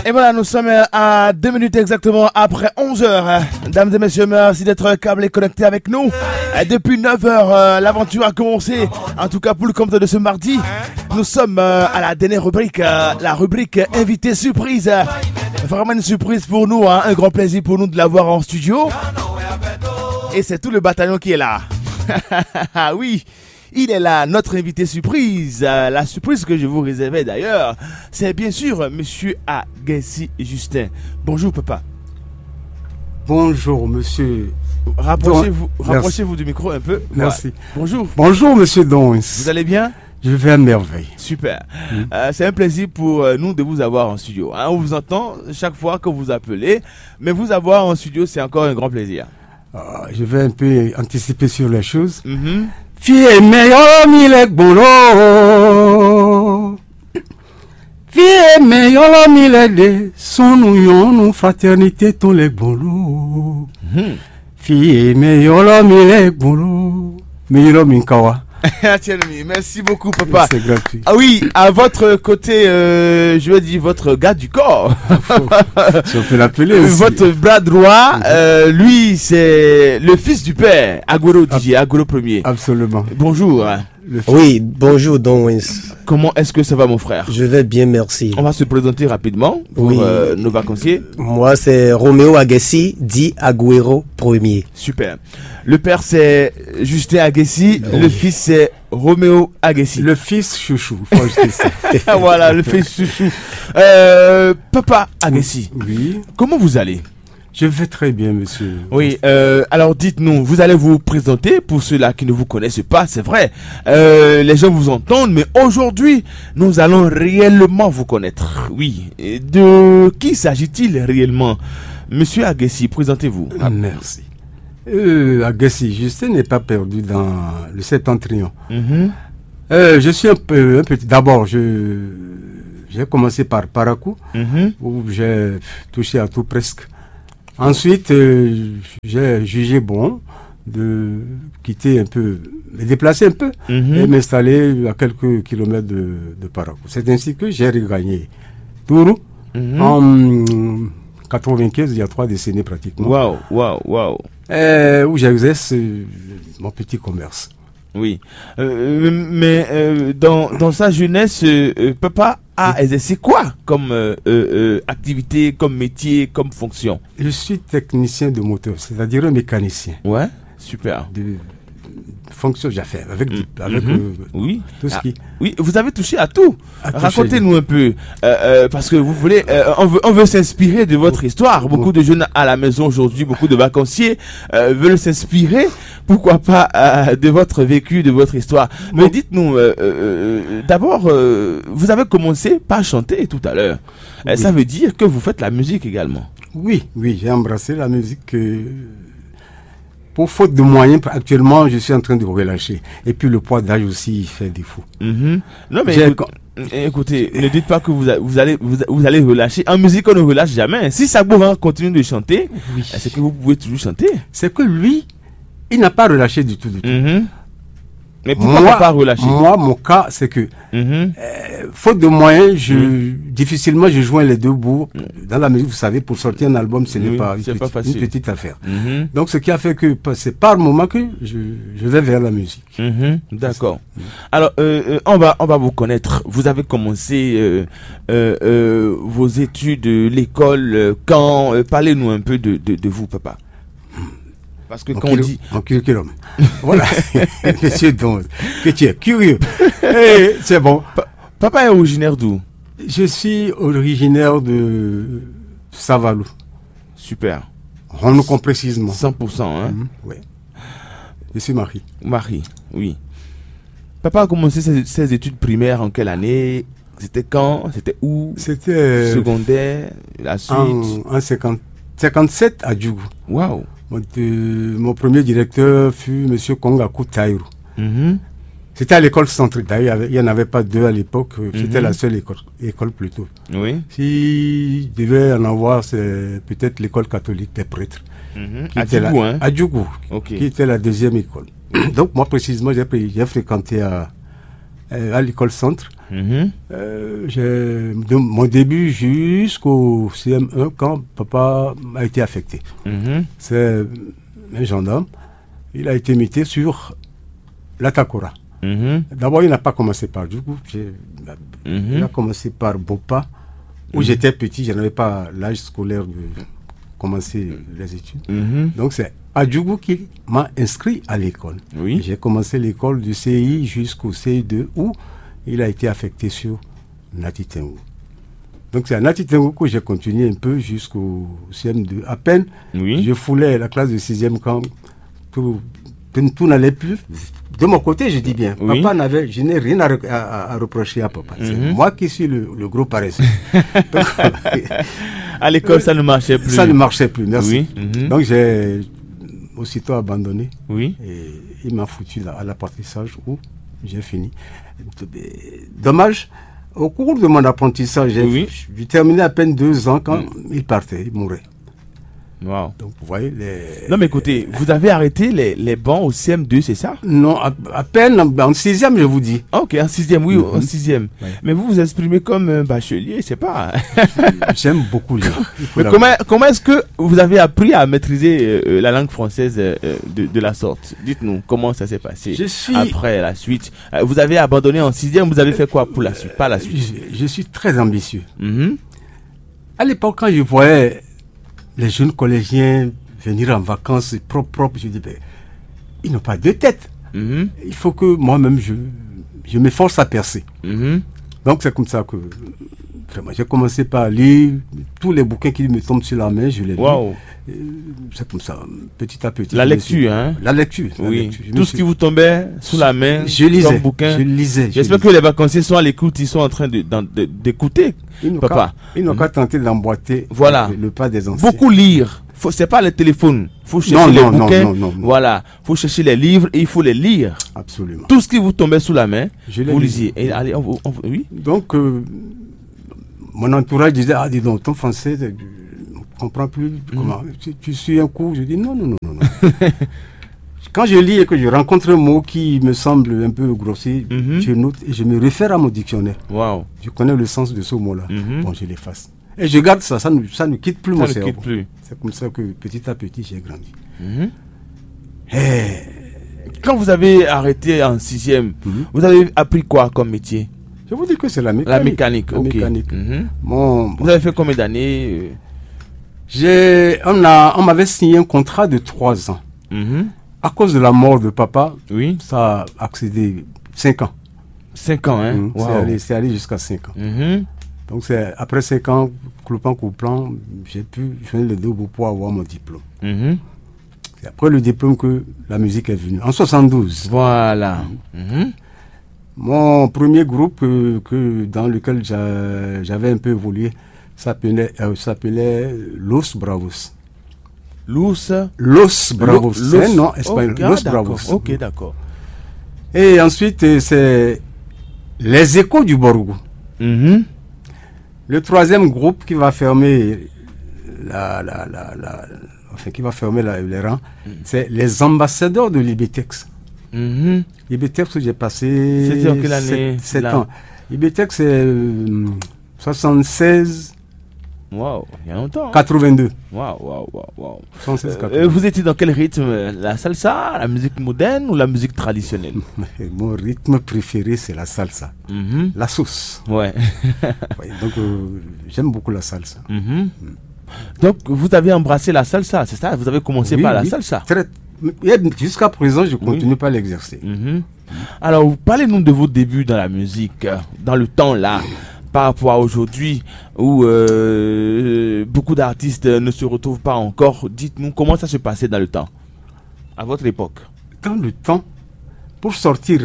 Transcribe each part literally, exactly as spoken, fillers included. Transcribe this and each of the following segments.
Et voilà, nous sommes à deux minutes exactement après onze heures. Dames et messieurs, merci d'être câblés, connectés avec nous. Depuis neuf heures, euh, l'aventure a commencé. En tout cas, pour le compte de ce mardi, nous sommes euh, à la dernière rubrique, euh, la rubrique invité surprise. Vraiment une surprise pour nous, hein, un grand plaisir pour nous de l'avoir en studio. Et c'est tout le bataillon qui est là. Ah oui, il est là, notre invité surprise. Euh, la surprise que je vous réservais d'ailleurs, c'est bien sûr Monsieur Agassi Justin. Bonjour papa. Bonjour, monsieur. Rapprochez-vous, rapprochez-vous du micro un peu. Voilà. Merci. Bonjour. Bonjour, monsieur Dons. Vous allez bien? Je vais à merveille. Super. Euh, c'est un plaisir pour euh, nous de vous avoir en studio, hein. On vous entend chaque fois que vous appelez, mais vous avoir en studio, c'est encore un grand plaisir. Euh, je vais un peu anticiper sur les choses. Mhm. Fie mɛ yɔlɔ mi lɛ gbɔn lɔ. Fie mɛ yɔlɔ mi lɛ de sɔnu yɔnu fraternité tɔn lɛ gbɔn lɔ. Fie mɛ yɔlɔ mi lɛ gbɔn lɔ. Mi yɔlɔ mi ka wa. Tiens, merci beaucoup, papa. C'est gratuit. Ah oui, à votre côté, euh, je vais dire votre gars du corps. Si on peut l'appeler aussi. Votre bras droit, euh, lui, c'est le fils du père, Agüero D J, Agüero premier. Absolument. Bonjour. Le Oui, bonjour Don Wins. Comment est-ce que ça va, mon frère? Je vais bien, merci. On va se présenter rapidement pour Oui. euh, nos vacanciers. Moi, c'est Roméo Agassi, dit Agüero premier. Super. Le père, c'est Justin Agassi. Le fils, c'est Roméo Agassi. Le fils chouchou, faut ajouter ça. Ah, voilà, le fils chouchou. Euh, papa Agassi, Oui, comment vous allez? Je vais très bien, monsieur. Oui, euh, alors dites-nous, vous allez vous présenter pour ceux-là qui ne vous connaissent pas, c'est vrai. Euh, les gens vous entendent, mais aujourd'hui, nous allons réellement vous connaître. Oui. Et de qui s'agit-il réellement? Monsieur Agassi, présentez-vous. Merci. Euh, Agassi, Justin n'est pas perdu dans le septentrion. Mhm. Euh, je suis un peu un petit. D'abord, je j'ai commencé par Parakou, Mhm. où j'ai touché à tout presque. Ensuite, euh, j'ai jugé bon de quitter un peu, me déplacer un peu Mhm. et m'installer à quelques kilomètres de, de Parakou. C'est ainsi que j'ai regagné Tourou Mhm. en quatre-vingt-quinze, il y a trois décennies pratiquement, Waouh, waouh, waouh. euh, où j'exerce euh, mon petit commerce. Oui. Euh, mais euh, dans, dans sa jeunesse, euh, euh, papa a exercé quoi comme euh, euh, euh, activité, comme métier, comme fonction? Je suis technicien de moteur, c'est-à-dire un mécanicien Ouais, super. de fonction, j'affaire avec, du- avec Mhm. euh, Oui. tout ce Ah, qui. Oui, vous avez touché à tout. À toucher. Racontez-nous un peu, euh, euh, parce que vous voulez, euh, on veut, on veut s'inspirer de votre histoire. Beaucoup de jeunes à la maison aujourd'hui, beaucoup de vacanciers euh, veulent s'inspirer, pourquoi pas, euh, de votre vécu, de votre histoire. Mais dites-nous, euh, euh, euh, d'abord, euh, vous avez commencé par chanter tout à l'heure. Euh, Oui. Ça veut dire que vous faites la musique également. Oui, oui, j'ai embrassé la musique. Euh, pour faute de moyens, actuellement, je suis en train de relâcher. Et puis le poids d'âge aussi, il fait défaut. Mhm. Non, mais J'ai écoute- écoutez, ne dites pas que vous, a- vous allez, vous, vous allez relâcher. En musique, on ne relâche jamais. Si Sagbo va continuer de chanter, c'est que vous pouvez toujours chanter. C'est que lui, il n'a pas relâché du tout, du tout. Mhm. Mais pourquoi Moi, ne pas relâcher? Moi, mon cas, c'est que Mhm. faute de moyens, je, difficilement je joins les deux bouts. Dans la musique, vous savez, pour sortir un album, ce n'est Oui, pas, une, c'est pas petite, facile. Une petite affaire. Mhm. Donc, ce qui a fait que pa- c'est par moment que je, je vais vers la musique. Mhm. D'accord. Alors, euh, euh, on va, on va vous connaître. Vous avez commencé euh, euh, euh, vos études, euh, l'école, euh, quand euh, Parlez-nous un peu de, de, de vous, papa. Parce que Mon quand on cul- dit mon curriculum. Voilà. Monsieur Don, que tu es curieux. Eh, c'est bon. Papa est originaire d'où? Je suis originaire de Savalou. Super. Honoucon précisément. Cent pour cent, hein? Mhm, oui. Je suis Marie. Marie, oui. Papa a commencé ses, ses études primaires en quelle année? C'était quand? C'était où? C'était euh, Secondaire, la suite. En, en cinquante, cinquante-sept à Djougou. Waouh. Mon, euh, mon premier directeur fut monsieur Kongaku Taïrou. Mhm. C'était à l'école centrale. D'ailleurs, il n'y en avait pas deux à l'époque. C'était Mhm. La seule école, école plutôt. Oui. S'il devait en avoir, c'est peut-être l'école catholique des prêtres. Mhm. Qui À était là- Djougou, hein? À Djougou, Ok. Qui était la deuxième école. Donc, moi, précisément, j'ai pris- j'ai fréquenté à, euh, à l'école centre. Mhm. Euh, j'ai de mon début jusqu'au C M un quand papa a été affecté. Mhm. C'est un gendarme. Il a été muté sur l'Atakora. Mhm. D'abord, il n'a pas commencé par Djougou. J'ai- Il a commencé par Bopa, où j'étais petit, je n'avais pas l'âge scolaire de commencer les études. Mhm. Donc c'est à Djougou qu'il m'a inscrit à l'école. Oui. J'ai commencé l'école du C I jusqu'au C I deux où il a été affecté sur Natitengo. Donc c'est à Natitengo que j'ai continué un peu jusqu'au C M deux. À peine, oui, je foulais la classe de sixième quand tout, tout, tout n'allait plus. De mon côté, je dis bien, oui, papa n'avait, je n'ai rien à, à, à reprocher à papa. C'est moi qui suis le, le gros paresseux. Donc, à l'école, ça ne marchait plus. Ça ne marchait plus, merci. Oui. Donc j'ai aussitôt abandonné. Oui. Et il m'a foutu là, à l'apprentissage où j'ai fini. Dommage, au cours de mon apprentissage, j'ai terminé à peine deux ans quand il partait, il mourait. Wow. Donc, vous voyez, les... Non, mais écoutez, vous avez arrêté les, les bancs au C M deux, c'est ça ? Non, à, à peine en, en sixième, je vous dis. Ah, ok, en sixième, oui, en sixième. Ouais. Mais vous vous exprimez comme un bachelier, c'est pas. J'aime beaucoup lire. Mais comment, comment est-ce que vous avez appris à maîtriser euh, la langue française euh, de, de la sorte ? Dites-nous comment ça s'est passé. Je suis... Après la suite, euh, vous avez abandonné en sixième, vous avez fait quoi pour la suite, par la suite ? Je, je suis très ambitieux. Mm -hmm. À l'époque, quand je voyais les jeunes collégiens venir en vacances propres, propres, je dis, ben, ils n'ont pas deux têtes. Mm -hmm. Il faut que moi-même, je, je m'efforce à percer. Mm -hmm. Donc, c'est comme ça que vraiment, j'ai commencé par lire tous les bouquins qui me tombent sur la main, je les lis. Wow. C'est comme ça, petit à petit. La lecture, hein ? La lecture. La oui. Lecture. Tout ce qui vous tombait sous la main, je lisais, comme bouquin. Je lisais. J'espère que les vacanciers sont à l'écoute, ils sont en train d'écouter. Papa. Ils n'ont qu'à tenter d'emboîter voilà. Le, le, pas des anciens. Beaucoup lire. C'est pas le téléphone. Il faut chercher non, les non, bouquins. Non, non, non, voilà. Il faut chercher les livres et il faut les lire. Absolument. Tout ce qui vous tombait sous la main, je vous lisiez. Et allez, on, on, oui. Donc, euh, mon entourage disait, ah, dis donc, ton français, je ne comprends plus. Mm. Comment tu, tu suis un cours ? Je dis, non, non, non, non. non. Quand je lis et que je rencontre un mot qui me semble un peu grossier, mm -hmm. Je note et je me réfère à mon dictionnaire. Wow. Je connais le sens de ce mot-là. Mm -hmm. Bon, je l'efface. Et je garde ça, ça ne, ça ne quitte plus ça mon cerveau. Plus. C'est comme ça que petit à petit, j'ai grandi. Mm -hmm. Hey. Quand vous avez arrêté en sixième, mm -hmm. Vous avez appris quoi comme métier ? Je vous dis que c'est la mécanique. La mécanique, la ok. Mécanique. Mm -hmm. Bon, vous avez fait combien d'années ? J'ai, on a, on m'avait signé un contrat de trois ans. Mm -hmm. À cause de la mort de papa, oui, ça a accédé cinq ans. Cinq ans, hein ? Mm -hmm. Wow. C'est allé, allé jusqu'à cinq ans. Mm -hmm. Donc c'est après cinq ans, clopant, clopant, j'ai pu joindre les deux bouts pour avoir mon diplôme. Mm -hmm. C'est après le diplôme que la musique est venue, en soixante-douze. Voilà. Mm -hmm. Mon premier groupe euh, que, dans lequel j'avais un peu évolué s'appelait euh, s'appelait Los Bravos. Los Los Bravos, c'est un nom espagnol. Oh, Los Bravos. Ok, d'accord. Et ensuite, euh, c'est Les Échos du Borgo. Mm -hmm. Le troisième groupe qui va fermer la, la, la, la enfin, qui va fermer la, les rangs, mm. C'est les ambassadeurs de l'Ibitex. Mm -hmm. L'Ibitex, j'ai passé sept, sept ans. L'Ibitex, c'est euh, soixante-seize. Wow, il y a longtemps. Hein. quatre-vingt-deux. Wow, wow, wow, wow. soixante-seize, quatre-vingt-deux. Euh, vous étiez dans quel rythme ? La salsa, la musique moderne ou la musique traditionnelle ? Mon rythme préféré, c'est la salsa. Mm -hmm. La sauce. Ouais. Oui, donc, euh, j'aime beaucoup la salsa. Mm -hmm. Donc, vous avez embrassé la salsa, c'est ça ? Vous avez commencé oui, par la oui. salsa. Très... Jusqu'à présent, je continue oui. Par l'exercer. Mm -hmm. Alors, parlez-nous de vos débuts dans la musique, euh, dans le temps là, par rapport à aujourd'hui, où euh, beaucoup d'artistes ne se retrouvent pas encore. Dites-nous comment ça se passait dans le temps, à votre époque. Dans le temps, pour sortir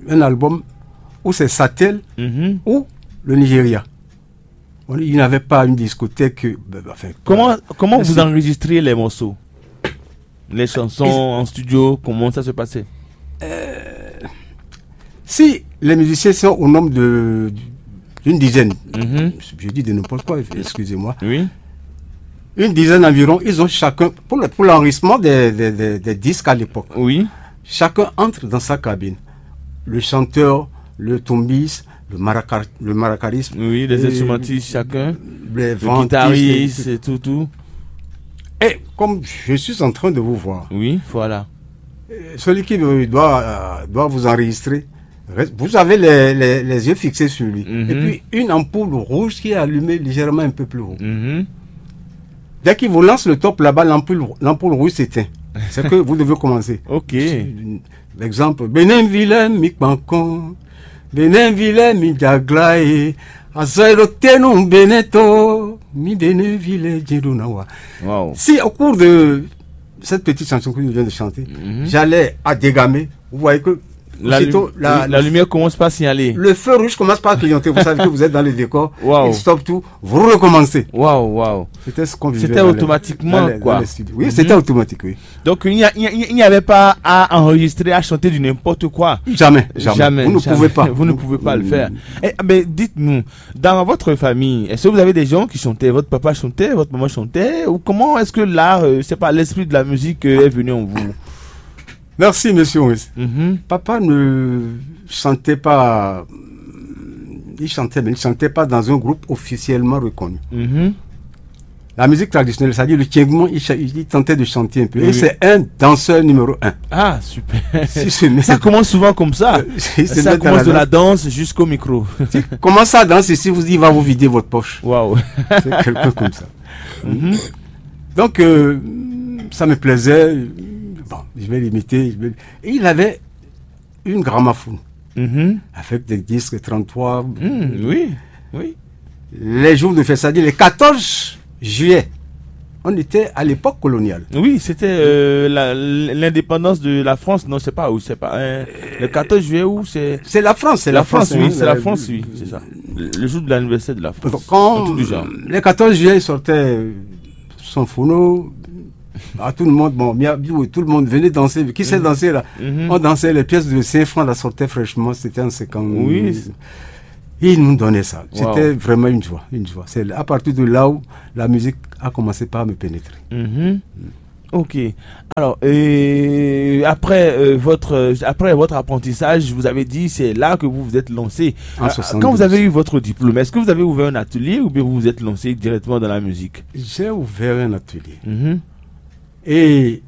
un album, ou c'est Satel, mm -hmm. Ou le Nigeria. On, il n'avait pas une discothèque. Enfin, comment comment vous enregistrez les morceaux ? Les chansons en studio, comment ça se passait ? Euh, si les musiciens sont au nombre de d'une dizaine, mm -hmm. Je dis de n'importe quoi, excusez-moi. Oui. Une dizaine environ, ils ont chacun, pour l'enregistrement des, des, des, des, disques à l'époque, oui. Chacun entre dans sa cabine. Le chanteur, le tombis, le, maraca- le maracarisme, Oui, les et instrumentistes, chacun. Les Le ventistes, guitariste et et tout, tout. Et comme je suis en train de vous voir, Oui, voilà. Celui qui doit, euh, doit vous enregistrer, vous avez les, les- les yeux fixés sur lui. Mhm. Et puis une ampoule rouge qui est allumée légèrement un peu plus haut. Mhm. Dès qu'il vous lance le top là-bas, l'ampoule, l'ampoule rouge s'éteint. C'est que vous devez commencer. Ok. L'exemple, Bénin vilain, mi kpankon. Bénin vilain, mi djagla e. Azɔyɛɖotenu Bénin to, mi Bénin vilain, Jédonawa. Wow. Si au cours de cette petite chanson que je viens de chanter, Mhm. j'allais à Dégamé, vous voyez que La, aussitôt, lumi- la- oui, la lumière commence par signaler. Le feu rouge commence par clignoter. Vous savez que vous êtes dans le décor. Wow. Il stoppe tout. Vous recommencez. Waouh, waouh. C'était ce qu'on vivait C'était dans les- automatiquement, dans les- dans quoi. les studios. Oui, Mhm. C'était automatique, oui. Donc, il n'y a- il n'y a- il n'y avait pas à enregistrer, à chanter du n'importe quoi. Jamais, jamais. Jamais, Vous ne jamais. pouvez pas. Vous ne pouvez pas le faire. Eh, mais dites-nous, dans votre famille, est-ce que vous avez des gens qui chantaient ? Votre papa chantait, votre maman chantait ? Ou comment est-ce que l'art, euh, c'est pas l'esprit de la musique, euh, est venu en vous ? Merci, monsieur Maurice. Mhm. Papa ne chantait pas. Il chantait, mais il ne chantait pas dans un groupe officiellement reconnu. Mhm. La musique traditionnelle, c'est-à-dire le Tiengmon, il, cha- il tentait de chanter un peu. Oui, Et oui. C'est un danseur numéro un. Ah, super. Si ce n'est- Ça commence souvent comme ça. Si ce Ça n'est commence de la la danse jusqu'au micro. Si commence à danser, si vous dites, il va vous vider votre poche. Waouh. C'est quelqu'un comme ça. Mhm. Donc, euh, ça me plaisait. Bon, je vais l'imiter. Je vais- Et il avait une gramophone Mhm. avec des disques trente-trois. Hmm, oui, oui. Les jours de fête, c'est-à-dire les quatorze juillet, on était à l'époque coloniale. Oui, c'était euh, la- l'indépendance de la France. Non, c'est pas où, c'est pas. Euh, le quatorze juillet, où c'est C'est la France, c'est la, France, oui, hein, c'est la la- France, oui, c'est ça. Le le jour de l'anniversaire de la France. Donc, quand Un truc du genre. Les quatorze juillet, il sortait son phono à tout le monde. Bon, bien, tout le monde venait danser. Qui sait Mhm. danser là Mhm. On dansait, les pièces de cinq francs, la sortaient fraîchement. C'était en cinquante. Oui. Il nous donnait ça. Wow. C'était vraiment une joie, une joie. C'est à partir de là où la musique a commencé par me pénétrer. Mhm. Ok. Alors, euh, après, euh, votre, euh, après votre apprentissage, vous avez dit c'est là que vous vous êtes lancé. En Euh, soixante-douze. Quand vous avez eu votre diplôme, est-ce que vous avez ouvert un atelier ou bien vous vous êtes lancé directement dans la musique ? J'ai ouvert un atelier. Mhm. Et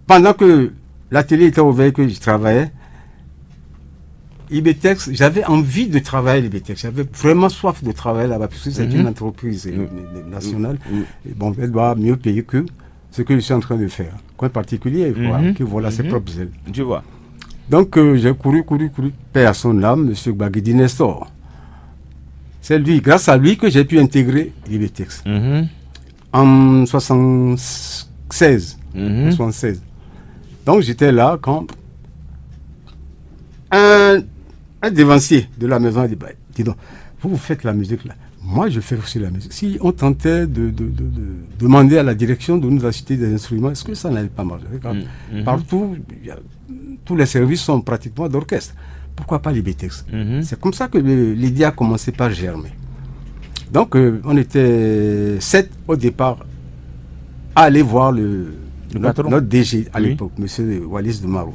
pendant que l'atelier était ouvert, que je travaillais, Ibetex, j'avais envie de travailler à l'Ibetex. J'avais vraiment soif de travailler là-bas, puisque c'est Mhm. une entreprise euh, Mhm. nationale. Mhm. Et bon, elle doit mieux payer que ce que je suis en train de faire. Qu'un particulier, voilà, Mhm. qui voit là ses Mhm. propres ailes. Je vois. Donc, euh, j'ai couru, couru, couru, paix à son âme, monsieur Gbagidi Nestor. C'est lui, grâce à lui, que j'ai pu intégrer l'Ibetex. Mhm. En soixante-seize, Mhm. soixante-seize. Donc, j'étais là quand un, un devancier de la maison a dit, bah, dis donc, vous, vous faites la musique là. Moi, je fais aussi la musique. Si on tentait de, de- de- de demander à la direction de nous acheter des instruments, est-ce que ça n'allait pas marcher ? Regarde, Mm, mhm. Partout, il y a- tous les services sont pratiquement d'orchestre. Pourquoi pas l'Ibetex ? Mhm. C'est comme ça que le- l'idée a commencé par germer. Donc, euh, on était sept au départ à aller voir le, Le notre, patron ? Notre D G à Oui. L'époque, monsieur Wallis de Maro.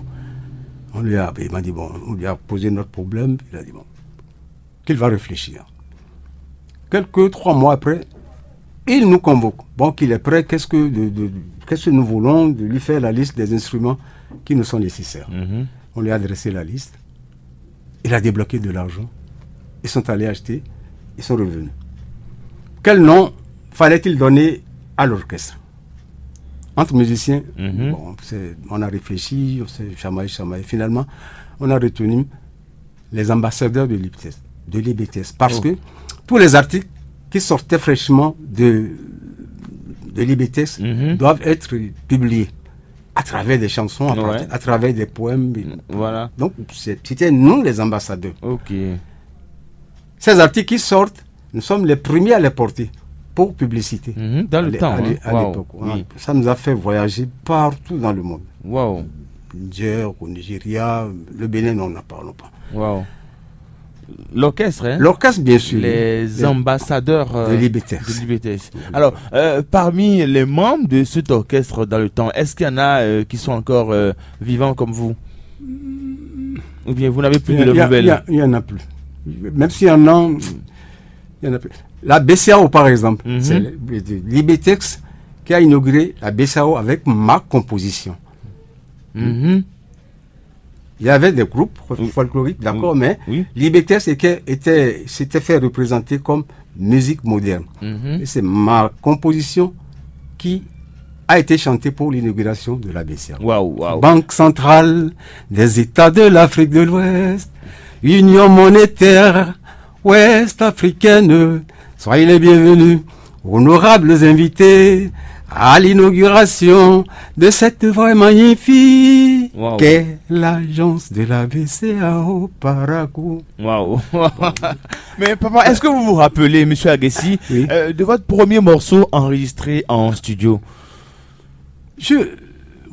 On lui a, il m'a dit, bon, on lui a posé notre problème. Il a dit, bon, qu'il va réfléchir. Quelques trois mois après, il nous convoque. Bon, qu'il est prêt, qu'est-ce que, de- de- qu'est-ce que nous voulons de lui faire la liste des instruments qui nous sont nécessaires. Mhm. On lui a adressé la liste. Il a débloqué de l'argent. Ils sont allés acheter. Ils sont revenus. Quel nom fallait-il donner à l'orchestre ? Entre musiciens, Mhm. Bon, c'est- on a réfléchi, on s'est chamaillé, chamaillé. Finalement, on a retenu les ambassadeurs de l'I B T S, de l'I B T S. Parce Oh. que tous les articles qui sortaient fraîchement de, de l'I B T S Mhm. doivent être publiés à travers des chansons, à, Ouais. partir- à travers des poèmes. Voilà. Donc, c'est- c'était nous les ambassadeurs. Ok. Ces articles qui sortent, nous sommes les premiers à les porter pour publicité. Mhm, dans le À l'é- temps, à l'é- hein. À Waouh, l'époque, hein. Oui. Ça nous a fait voyager partout dans le monde. Waouh. Niger, au Nigeria, le Bénin, non, n'en parlons pas. Waouh. L'orchestre, hein ? L'orchestre, bien sûr. Les Les- ambassadeurs euh, De l'I B T S. De l'I B T S. De l'I B T S. Alors, euh, parmi les membres de cet orchestre dans le temps, est-ce qu'il y en a euh, qui sont encore euh, vivants comme vous ? Ou bien vous n'avez plus de leurs nouvelles? Il n'y en a plus. Même s'il y en a, il y en a plus. La B C A O, par exemple, c'est le- le- l'I B T X qui a inauguré la B C A O avec ma composition. Mhm. Il y avait des groupes folkloriques, d'accord, mais oui, l'I B T S était, était- s'était fait représenter comme musique moderne. Mhm. Et c'est ma composition qui a été chantée pour l'inauguration de la B C A. Waouh, waouh. Banque centrale des États de l'Afrique de l'Ouest, Union monétaire ouest-africaine, soyez les bienvenus, honorables invités, à l'inauguration de cette œuvre magnifique. Waouh. Qu'est l'agence de la B C A O Parakou. Waouh. Mais papa, est-ce que vous vous rappelez, monsieur Agassi, oui, euh, de votre premier morceau enregistré en studio? Je...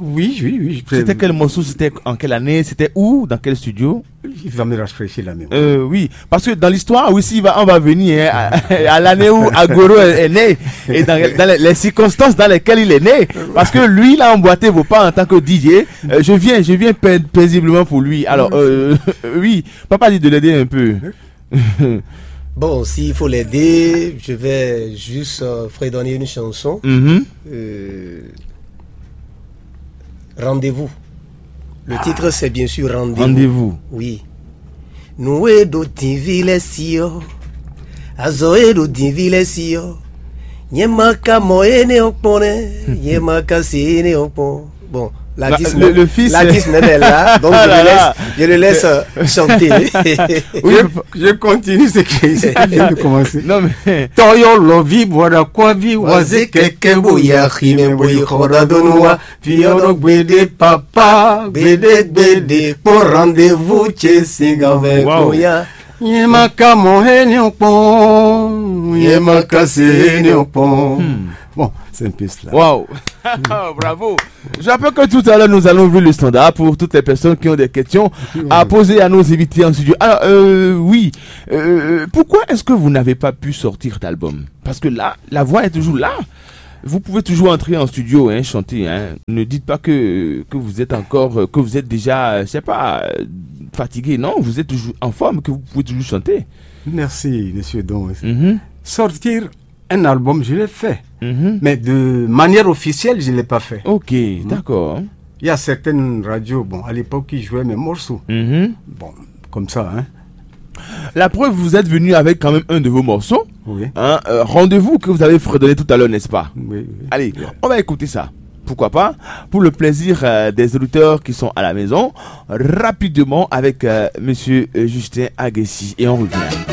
Oui, oui, oui. C'était quel morceau? C'était en quelle année? C'était où? Dans quel studio? Il va me rafraîchir la mémoire. Euh, oui, parce que dans l'histoire aussi, va, on va venir, hein, à, à l'année où Agoro est, est né et dans, dans les, les circonstances dans lesquelles il est né. Parce que lui, il a emboîté vos pas en tant que D J. Euh, je viens, je viens paisiblement pour lui. Alors, euh, oui, papa dit de l'aider un peu. Bon, s'il faut l'aider, je vais juste euh, fredonner une chanson. Mhm. Euh, Rendez-vous. Le titre, c'est bien sûr Rendez-vous. Rendez-vous. Oui. Nǔ e ɖo dǐnví lɛ́ɛ sí ɔ́, azɔ̌ e ɖo dǐnví lɛ́ɛ sí ɔ́, nyɛ ma ka mɔ énɛ́ ɔ́ kpɔ́n nɛ́, nyɛ ma ka se énɛ́ ɔ́ kpɔ́n. Bon, l'artiste, le, le fils, l'artiste même est là, donc je le laisse, je le laisse euh, chanter. Oui, je, je continue ce que je viens de commencer. Non, mais... Tɔyɔ lɔvi bɔda kɔvi waze kɛkɛ bo ya ximɛ bo yi xɔ da donu wa. Fi ɔ́ ɖɔ gbeɖé papa gbeɖé gbeɖé kpɔ́n rendez-vous ce sín gǎnvɛ kó ya. Nyɛ ma ka mɔ énɛ́ ɔ́ kpɔ́n, nyɛ ma ka se énɛ́ ɔ́ kpɔ́n. Bon, c'est un peu cela. Waouh. Bravo. Je rappelle que tout à l'heure, nous allons ouvrir le standard pour toutes les personnes qui ont des questions à poser à nos invités en studio. Alors, euh, oui, euh, pourquoi est-ce que vous n'avez pas pu sortir d'album? Parce que là, la voix est toujours là. Vous pouvez toujours entrer en studio, hein, chanter. Hein. Ne dites pas que, que vous êtes encore, euh, que vous êtes déjà, euh, je sais pas, euh, fatigué. Non, vous êtes toujours en forme, que vous pouvez toujours chanter. Merci, monsieur Don. Mhm. Sortir un album, je l'ai fait. Mhm. Mais de manière officielle, je ne l'ai pas fait. Ok, d'accord. Il y a certaines radios, bon, à l'époque, qui jouaient mes morceaux. Mhm. Bon, comme ça, hein. La preuve, vous êtes venu avec quand même un de vos morceaux. Oui. Hein, euh, Rendez-vous que vous avez fredonné tout à l'heure, n'est-ce pas? Oui, oui. Allez, on va écouter ça. Pourquoi pas? Pour le plaisir euh, des auditeurs qui sont à la maison, rapidement avec euh, monsieur euh, Justin Agassi. Et on revient.